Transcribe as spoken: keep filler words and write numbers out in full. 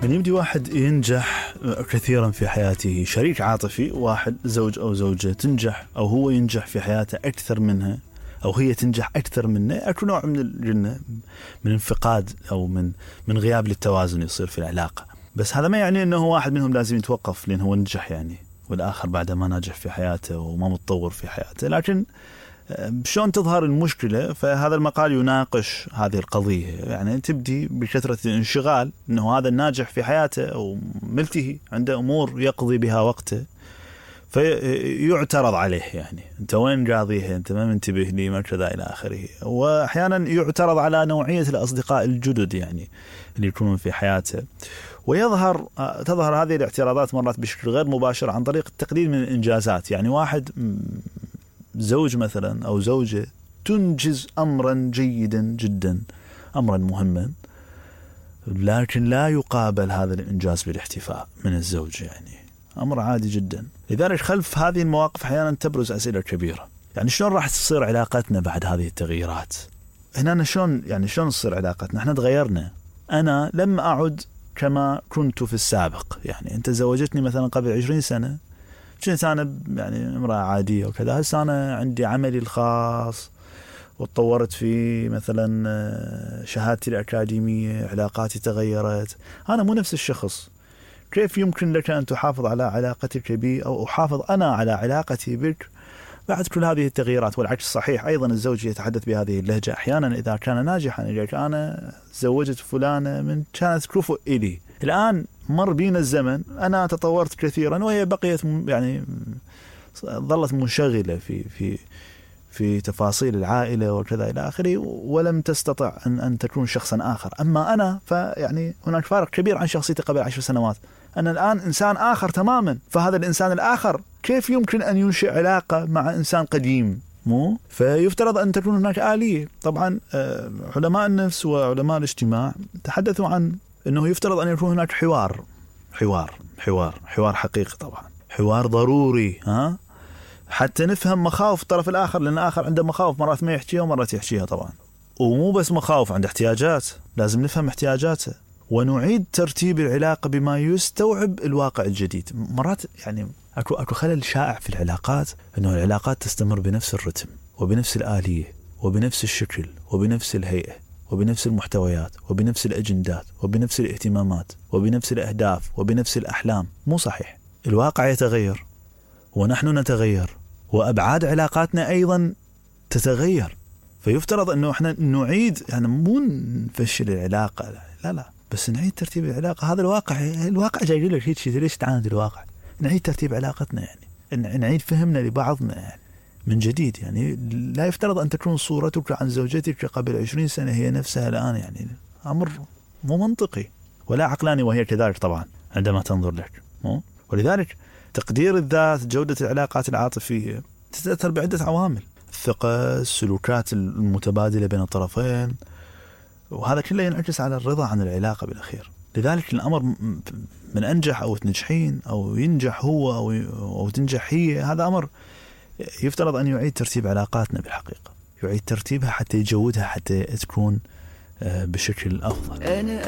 من يبدي واحد ينجح كثيرا في حياته، شريك عاطفي، واحد زوج أو زوجة تنجح أو هو ينجح في حياته أكثر منها أو هي تنجح أكثر منه، أكو نوع من الجنة من انفقاد أو من من غياب للتوازن يصير في العلاقة. بس هذا ما يعني أنه واحد منهم لازم يتوقف لأنه هو نجح يعني، والآخر بعد ما ناجح في حياته وما متطور في حياته. لكن شلون تظهر المشكلة؟ فهذا المقال يناقش هذه القضية. يعني تبدي بكثرة الانشغال، أنه هذا الناجح في حياته أو ملتهي عنده أمور يقضي بها وقته، فيعترض عليه يعني أنت وين قاضيها، أنت ما منتبه لي، ما كذا إلى آخره. وأحيانا يعترض على نوعية الأصدقاء الجدد يعني اللي يكونون في حياته، ويظهر تظهر هذه الاعتراضات مرات بشكل غير مباشر عن طريق التقليل من الإنجازات. يعني واحد زوج مثلا أو زوجة تنجز أمرا جيدا جدا، أمرا مهما، لكن لا يقابل هذا الإنجاز بالاحتفاء من الزوج، يعني أمر عادي جدا. لذلك خلف هذه المواقف أحيانا تبرز أسئلة كبيرة. يعني شلون راح تصير علاقتنا بعد هذه التغييرات؟ هنا شلون يعني شلون تصير علاقتنا؟ احنا تغيرنا، أنا لم أعد كما كنت في السابق. يعني أنت زوجتني مثلا قبل عشرين سنة، كنت أنا يعني امرأة عادية وكذا، هسه أنا عندي عملي الخاص وتطورت في مثلا شهادتي الأكاديمية، علاقاتي تغيرت، أنا مو نفس الشخص. كيف يمكن لك أن تحافظ على علاقتك بي أو أحافظ أنا على علاقتي بك بعد كل هذه التغييرات؟ والعكس صحيح أيضا. الزوج يتحدث بهذه اللهجة أحيانا إذا كان ناجحا، يقول أنا زوجت فلانة من كانت كفؤ إلي، الآن مر بينا الزمن، أنا تطورت كثيرا وهي بقيت يعني ظلت منشغلة في في في تفاصيل العائلة وكذا إلى آخره، ولم تستطع أن أن تكون شخصا آخر. أما أنا فيعني هناك فارق كبير عن شخصيتي قبل عشر سنوات، أنا الآن إنسان آخر تماما. فهذا الإنسان الآخر كيف يمكن أن ينشئ علاقة مع إنسان قديم؟ مو فيفترض أن تكون هناك آلية. طبعا علماء النفس وعلماء الاجتماع تحدثوا عن أنه يفترض أن يكون هناك حوار حوار حوار حوار حقيقي، طبعا حوار ضروري، ها، حتى نفهم مخاوف الطرف الآخر، لأن الآخر عنده مخاوف مرات ما يحكيها ومرات يحكيها طبعا. ومو بس مخاوف، عنده احتياجات، لازم نفهم احتياجاته ونعيد ترتيب العلاقة بما يستوعب الواقع الجديد. مرات يعني أكو أكو خلل شائع في العلاقات، أنه العلاقات تستمر بنفس الرتم وبنفس الآلية وبنفس الشكل وبنفس الهيئة وبنفس المحتويات وبنفس الأجندات وبنفس الاهتمامات وبنفس الأهداف وبنفس الأحلام. مو صحيح، الواقع يتغير ونحن نتغير وأبعاد علاقاتنا أيضا تتغير. فيفترض أنه إحنا نعيد، يعني مو نفشل العلاقة، لا لا، بس نعيد ترتيب العلاقة. هذا الواقع، الواقع جاي لك هيك شيء، ليش تعاند الواقع؟ نعيد ترتيب علاقتنا، يعني نعيد فهمنا لبعضنا يعني من جديد. يعني لا يفترض أن تكون صورتك عن زوجتك قبل عشرين سنة هي نفسها الآن، يعني أمر مو منطقي ولا عقلاني، وهي كذلك طبعا عندما تنظر لك. مو ولذلك تقدير الذات، جودة العلاقات العاطفية تتأثر بعدة عوامل: الثقة، السلوكات المتبادلة بين الطرفين، وهذا كله ينعكس على الرضا عن العلاقة بالأخير. لذلك الأمر من أنجح أو تنجحين أو ينجح هو أو أو تنجح هي، هذا أمر يفترض أن يعيد ترتيب علاقاتنا بالحقيقة، يعيد ترتيبها حتى يجودها، حتى تكون بشكل أفضل.